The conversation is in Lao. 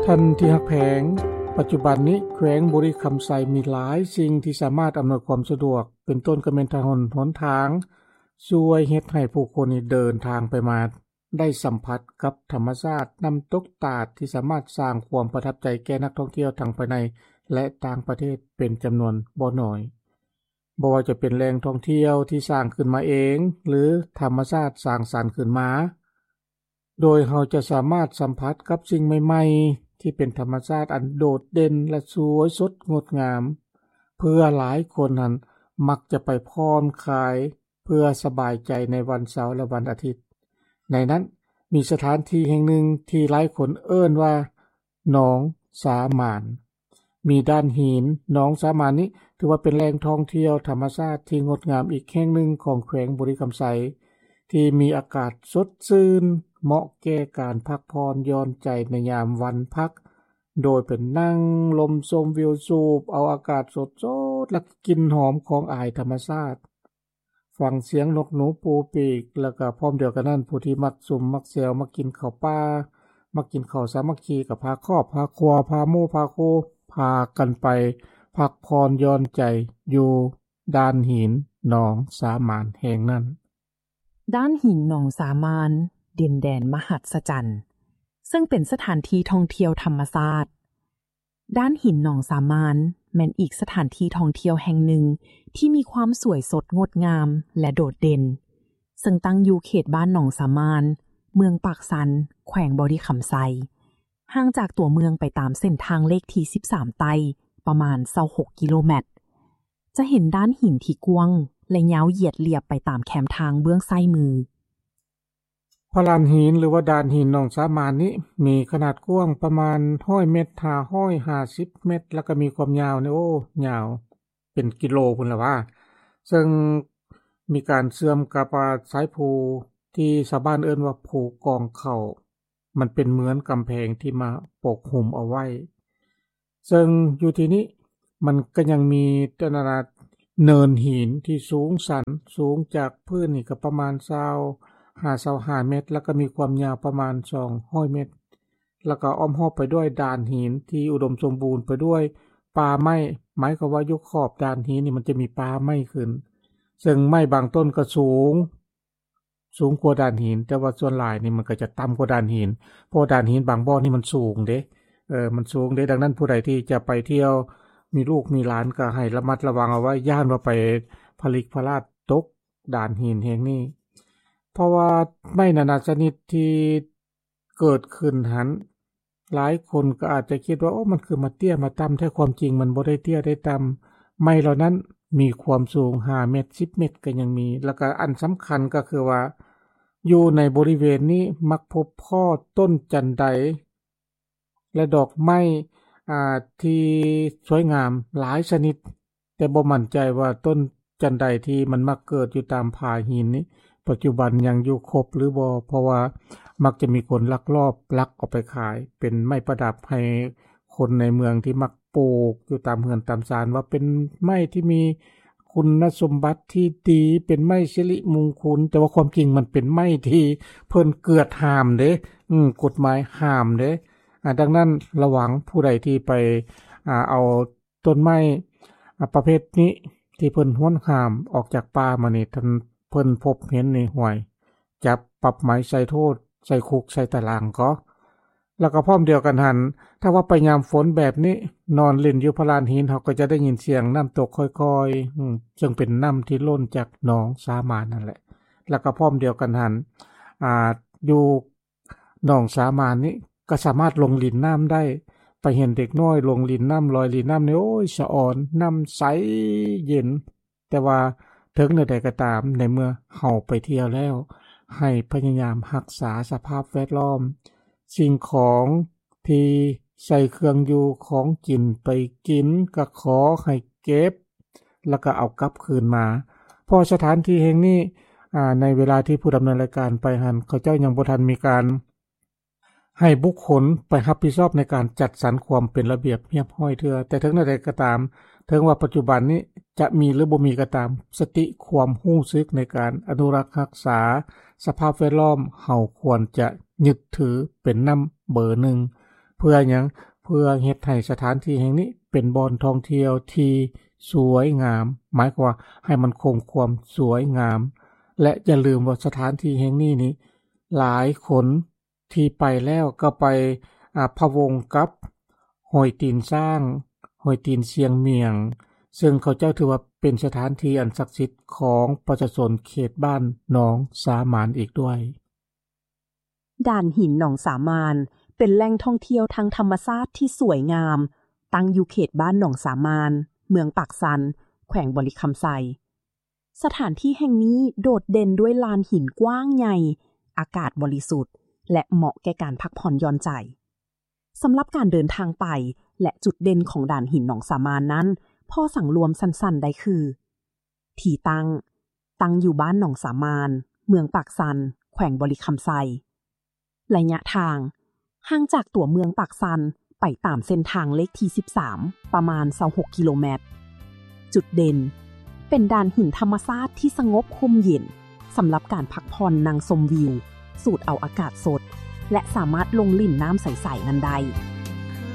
ທ່ານທີ່ຮັກແພງ, ປັດຈຸບັນນີ້ແຂວງບໍລິຄຳໄຊມີຫຼາຍສິ່ງທີ່ສາມາດອຳນວຍຄວາມສະດວກ, ເປັນຕົ້ນກໍແມ່ນຖະໜົນຫົນທາງ, ຊ່ວຍເຮັດໃຫ້ຜູ້ຄົນນີ້ເດີນທາງໄປມາໄດ້ສຳຜັດກັບທຳມະຊາດນ້ຳຕົກຕາດ ທີ່ສາມາດສ້າງຄວາມປະທັບໃຈແກ່ນັກທ່ອງທ່ຽວທັງພາຍໃນ ແລະ ຕ່າງປະເທດເປັນຈຳນວນບໍ່ໜ້ອຍ. ບໍ່ວ່າຈະເປັນແຫຼ່ງທ່ອງທ່ຽວທີ່ສ້າງຂຶ້ນມາເອງ ຫຼື ທຳມະຊາດສ້າງສັນຂຶ້ນມາ, ໂດຍເຮົາຈະສາມາດສຳຜັດກັບສິ່ງໃໝ່ໆ ທີ່ເປັນທຳມະຊາດອັນໂດດເດັ່ນ ແລະ ສວຍສົດງົດງາມ ເພື່ອຫຼາຍຄົນຫັ້ນມັກຈະໄປຜ່ອນຄາຍ ເພື່ອສະບາຍໃຈໃນວັນເສົາ ແລະ ວັນອາທິດ. ໃນນັ້ນມີສະຖານທີ່ແຫ່ງໜຶ່ງທີ່ຫຼາຍຄົນເອີ້ນວ່າ ໜອງສາມານ. ມີດ່ານຫີນໜອງສາມານນີ້ ຖືວ່າເປັນແຫຼ່ງທ່ອງທ່ຽວທຳມະຊາດທີ່ງົດງາມອີກແຫ່ງໜຶ່ງຂອງແຂວງບໍລິຄຳໄຊ ທີ່ມີອາກາດສົດຊື່ນ ເໝາະແກ່ການພັກຜ່ອນຢ່ອນໃຈໃນຍາມວັນພັກ, ໂດຍໄປນັ່ງລົມຊົມວິວ, ສູບເອົາອາກາດສົດໆ ແລະ ກິ່ນຫອມຂອງອາຍທຳມະຊາດ. ຟັງສຽງນົກໜູປູປີກ ແລ້ວກໍພ້ອມດຽວກັນນັ້ນ ຜູ້ທີ່ມັກຊຸມມັກແຊວ ມັກກິນເຂົ້າປ່າ ມັກກິນເຂົ້າສາມັກຄີ ກໍພາຄອບພາຄົວ ພາໝູ່ພາຄູ່ ພາກັນໄປພັກຜ່ອນຢ່ອນໃຈຢູ່ດ່ານຫີນໜອງສາມານແຫ່ງນັ້ນ. ດ່ານຫີນໜອງສາມານ ດິນແດນມະຫັດສະຈັນ ເຊິ່ງເປັນສະຖານທີ່ທ່ອງທ່ຽວທຳມະຊາດ. ດ່ານຫີນໜອງສາມານ ແມ່ນອີກສະຖານທີ່ທ່ອງທ່ຽວແຫ່ງໜຶ່ງທີ່ມີຄວາມສວຍສົດງົດງາມ ແລະ ໂດດເດັ່ນ, ເຊິ່ງຕັ້ງຢູ່ເຂດບ້ານໜອງສາມານ, ເມືອງປາກຊັນ, ແຂວງບໍລິຄຳໄຊ, ຫ່າງຈາກຕົວເມືອງໄປຕາມເສັ້ນທາງເລກທີສິບສາມໃຕ້ປະມານຊາວຫົກກິໂລແມັດ. ຈະເຫັນດ່ານຫີນທີ່ກວ້າງ ແລະ ຍາວຢຽດລຽບໄປຕາມແຄມທາງເບື້ອງຊ້າຍມື. ພະລານຫີນ ຫຼືວ່າດ່ານຫີນໜອງສາມານນີ້ ມີຂະໜາດກວ້າງປະມານຮ້ອຍເມັດຫາຮ້ອຍຫ້າສິບເມັດ ແລ້ວກໍມີຄວາມຍາວນີ້ ໂອ້ ຍາວເປັນກິໂລພຸ້ນລະວ່າ ເຊິ່ງມີການເຊື່ອມກັບ ອາ ສາຍພູທີ່ຊາວບ້ານເອີ້ນວ່າພູກອງເຂົ້າ ມັນເປັນເໝືອນກຳແພງທີ່ມາປົກຫຸ້ມເອົາໄວ້. ເຊິ່ງຢູ່ທີ່ນີ້ມັນກໍຍັງມີ ອັນນັ້ນນະ ເນີນຫີນທີ່ສູງຊັນ, ສູງຈາກພື້ນນີ້ກໍປະມານຊາວຫາຊາວຫ້າເມັດ ແລ້ວກໍມີຄວາມຍາວປະມານສອງຮ້ອຍເມັດ ແລ້ວກໍອ້ອມຮອບໄປດ້ວຍດ່ານຫີນທີ່ອຸດົມສົມບູນໄປດ້ວຍປ່າໄມ້, ໝາຍຄວາມວ່າຢູ່ຂອບດ່ານຫີນນີ້ມັນຈະມີປ່າໄມ້ຂຶ້ນ, ເຊິ່ງໄມ້ບາງຕົ້ນກໍສູງ ສູງກວ່າດ່ານຫີນ, ແຕ່ວ່າສ່ວນຫຼາຍນີ້ມັນກໍຈະຕ່ຳກວ່າດ່ານຫີນ, ເພາະວ່າດ່ານຫີນບາງບ່ອນນີ້ມັນສູງເດ້, ເອີ ມັນສູງເດ້. ດັ່ງນັ້ນຜູ້ໃດທີ່ຈະໄປທ່ຽວ ມີລູກມີຫຼານກໍໃຫ້ລະມັດລະວັງເອົາໄວ້, ຢ້ານວ່າໄປຜະລິກຜະລາດຕົກດ່ານຫີນແຫ່ງນີ້. ເພາະວ່າໄມ້ນານາຊະນິດທີ່ເກີດຂຶ້ນຫັ້ນ ຫຼາຍຄົນກໍອາດຈະຄິດວ່າ ໂອ້ ມັນຄືມາເຕ້ຍມາຕ່ຳແທ້, ຄວາມຈິງມັນບໍ່ໄດ້ເຕ້ຍໄດ້ຕ່ຳ. ໄມ້ເຫຼົ່ານັ້ນມີຄວາມສູງຫ້າເມັດ, ສິບເມັດກໍຍັງມີ. ແລ້ວກໍອັນສຳຄັນກໍຄືວ່າ ຢູ່ໃນບໍລິເວນນີ້ມັກພົບພໍ້ຕົ້ນຈັນໄດ ແລະ ດອກໄມ້ ອາ ທີ່ສວຍງາມຫຼາຍຊະນິດ, ແຕ່ບໍ່ໝັ້ນໃຈວ່າຕົ້ນ ຈັນໄດທີ່ມັນມັກເກີດຢູ່ຕາມຜາຫີນນີ້ ປັດຈຸບັນຍັງຢູ່ຄົບຫຼືບໍ່, ເພາະວ່າມັກຈະມີຄົນລັກລອບລັກເອົາໄປຂາຍເປັນໄມ້ປະດັບໃຫ້ຄົນໃນເມືອງທີ່ມັກປູກຢູ່ຕາມເຮືອນຕາມຊານ, ວ່າເປັນໄມ້ທີ່ມີຄຸນນະສົມບັດທີ່ດີ, ເປັນໄມ້ສິລິມຸງຄຸນ, ແຕ່ວ່າຄວາມຈິງມັນເປັນໄມ້ທີ່ເພິ່ນເກືອດຫ້າມເດ້, ອືມ, ກົດໝາຍຫ້າມເດ້. ອາ, ດັ່ງນັ້ນລະວັງຜູ້ໃດທີ່ໄປ, ອາ, ເອົາ ຕົ້ນໄມ້ ອາ ປະເພດນີ້ທີ່ເພິ່ນຫວນຫ້າມອອກຈາກປ່າມານີ້ ທ່ານເພິ່ນພົບເຫັນນີ້ ຫ້ວຍ ຈັບປັບໃໝໃສ່ໂທດ ໃສ່ຄຸກໃສ່ຕາລາງກໍ. ແລ້ວກໍພ້ອມດຽວກັນຫັ້ນ ຖ້າວ່າໄປຍາມຝົນແບບນີ້ ນອນຫຼິ້ນຢູ່ພະລານຫີນ ເຮົາກໍຈະໄດ້ຍິນສຽງນ້ຳຕົກຄ່ອຍໆ ອືມ ເຊິ່ງເປັນນ້ຳທີ່ຫຼົ່ນຈາກໜອງສາມານນັ້ນແຫຼະ. ແລ້ວກໍພ້ອມດຽວກັນຫັ້ນ ອາ ຢູ່ ໜອງສາມານນີ້ກໍສາມາດລົງຫຼິ້ນນ້ຳໄດ້, ໄປເຫັນເດັກນ້ອຍລົງຫຼິ້ນນ້ຳ ລອຍຫຼິ້ນນ້ຳນີ້ ໂອ້ຍ ສະອອນ, ນ້ຳໃສເຢັນ. ແຕ່ວ່າເຖິງແນວໃດກໍຕາມ, ໃນເມື່ອເຮົາໄປທ່ຽວແລ້ວ, ໃຫ້ພະຍາຍາມຮັກສາສະພາບແວດລ້ອມ, ສິ່ງຂອງທີ່ໃສ່ເຄື່ອງຢູ່ຂອງກິນໄປກິນ ກໍຂໍໃຫ້ເກັບ ແລ້ວກໍເອົາກັບຄືນມາ. ເພາະສະຖານທີ່ແຫ່ງນີ້ ອາ ໃນເວລາທີ່ຜູ້ດຳເນີນລາຍການໄປຫັ້ນ ເຂົາເຈົ້າຍັງບໍ່ທັນມີການໃຫ້ບຸກຄົນໄປຮັບຜິດຊອບໃນການຈັດສັນຄວາມເປັນລະບຽບຮຽບຮ້ອຍເທື່ອ. ແຕ່ເຖິງແນວໃດກໍຕາມ, ເຖິງວ່າປັດຈຸບັນນີ້ຈະມີ ຫຼື ບໍ່ມີກໍຕາມ, ສະຕິຄວາມຮູ້ສຶກໃນການອະນຸລັກຮັກສາສະພາບແວດລ້ອມ ເຮົາຄວນຈະຍຶດຖືເປັນນຳເບີໜຶ່ງ. ເພື່ອຫຍັງ? ເພື່ອເຮັດໃຫ້ສະຖານທີ່ແຫ່ງນີ້ເປັນບ່ອນທ່ອງທ່ຽວທີ່ສວຍງາມ, ໝາຍຄວາມວ່າໃຫ້ມັນຄົງຄວາມສວຍງາມ ແລະ ຢ່າລືມວ່າສະຖານທີ່ແຫ່ງນີ້ນີ້ ຫຼາຍຄົນທີ່ໄປແລ້ວກໍໄປ ອາ ພະວົງກັບຫ້ວຍຕີນຊ້າງ, ຫ້ວຍຕີນຊຽງໝຽງ, ເຊິ່ງເຂົາເຈົ້າຖືວ່າເປັນສະຖານທີ່ອັນສັກສິດຂອງປະຊາຊົນເຂດບ້ານໜອງສາມານອີກດ້ວຍ. ດ່ານຫີນໜອງສາມານ ເປັນແຫຼ່ງທ່ອງທ່ຽວທາງທຳມະຊາດທີ່ສວຍງາມ, ຕັ້ງຢູ່ເຂດບ້ານໜອງສາມານ, ເມືອງປາກຊັນ, ແຂວງບໍລິຄຳໄຊ. ສະຖານທີ່ແຫ່ງນີ້ໂດດເດັ່ນດ້ວຍລານຫີນກວ້າງໃຫຍ່, ອາກາດບໍລິສຸດ ແລະ ເໝາະແກ່ການພັກຜ່ອນຢ່ອນໃຈ. ສຳລັບການເດີນທາງໄປ ແລະ ຈຸດເດັ່ນຂອງດ່ານຫີນໜອງສາມານນັ້ນ, ພໍສັງລວມສັ້ນໆໄດ້ຄື ທີ່ຕັ້ງ, ຕັ້ງຢູ່ບ້ານໜອງສາມານ, ເມືອງປາກຊັນ, ແຂວງບໍລິຄຳໄຊ. ໄລຍະທາງ, ຫ່າງຈາກຕົວເມືອງປາກຊັນໄປຕາມເສັ້ນທາງເລກທີສິບສາມ ປະມານຊາວຫົກກິໂລແມັດ. ຈຸດເດັ່ນ, ເປັນດ່ານຫີນທຳມະຊາດທີ່ສະຫງົບຮົ່ມເຢັນ ສຳລັບການພັກຜ່ອນນັ່ງຊົມວິວ, ສູດເອົາອາກາດສົດ ແລະ ສາມາດລົງຫຼິ້ນນ້ຳໃສໆນັ້ນໄດ້.